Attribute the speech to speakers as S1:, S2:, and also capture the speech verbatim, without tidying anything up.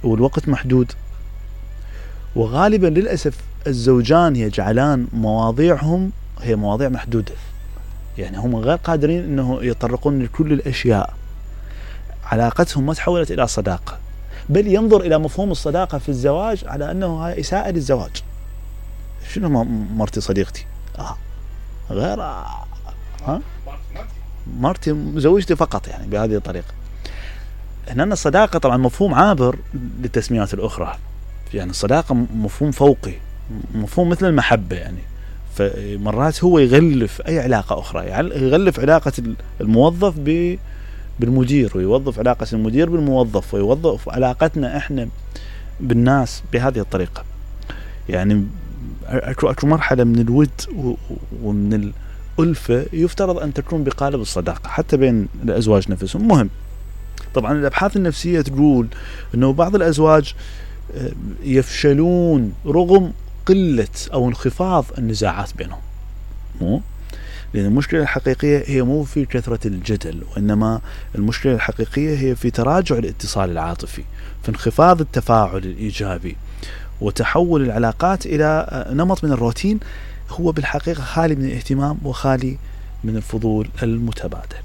S1: والوقت محدود، وغالبا للأسف الزوجان يجعلان مواضيعهم هي مواضيع محدودة، يعني هم غير قادرين أنه يتطرقون لكل الأشياء. علاقتهم ما تحولت إلى صداقة، بل ينظر إلى مفهوم الصداقة في الزواج على أنه إساءة للزواج. شنو مرتي صديقتي؟ آه. غير آه. ها؟ مرتي زوجتي فقط، يعني بهذه الطريقة. هنا الصداقة طبعا مفهوم عابر للتسميات الأخرى، يعني الصداقة مفهوم فوقي، مفهوم مثل المحبة، يعني فمرات هو يغلف أي علاقة أخرى، يعني يغلف علاقة الموظف بالمدير، ويوظف علاقة المدير بالموظف، ويوظف علاقتنا إحنا بالناس بهذه الطريقة. يعني أكو أكو مرحلة من الود ومن الألفة يفترض أن تكون بقالب الصداقة حتى بين الأزواج نفسهم. مهم. طبعا الأبحاث النفسية تقول أنه بعض الأزواج يفشلون رغم قلة أو انخفاض النزاعات بينهم، مو لأن المشكلة الحقيقية هي مو في كثرة الجدل، وإنما المشكلة الحقيقية هي في تراجع الاتصال العاطفي، في انخفاض التفاعل الإيجابي، وتحول العلاقات إلى نمط من الروتين هو بالحقيقة خالي من الاهتمام وخالي من الفضول المتبادل.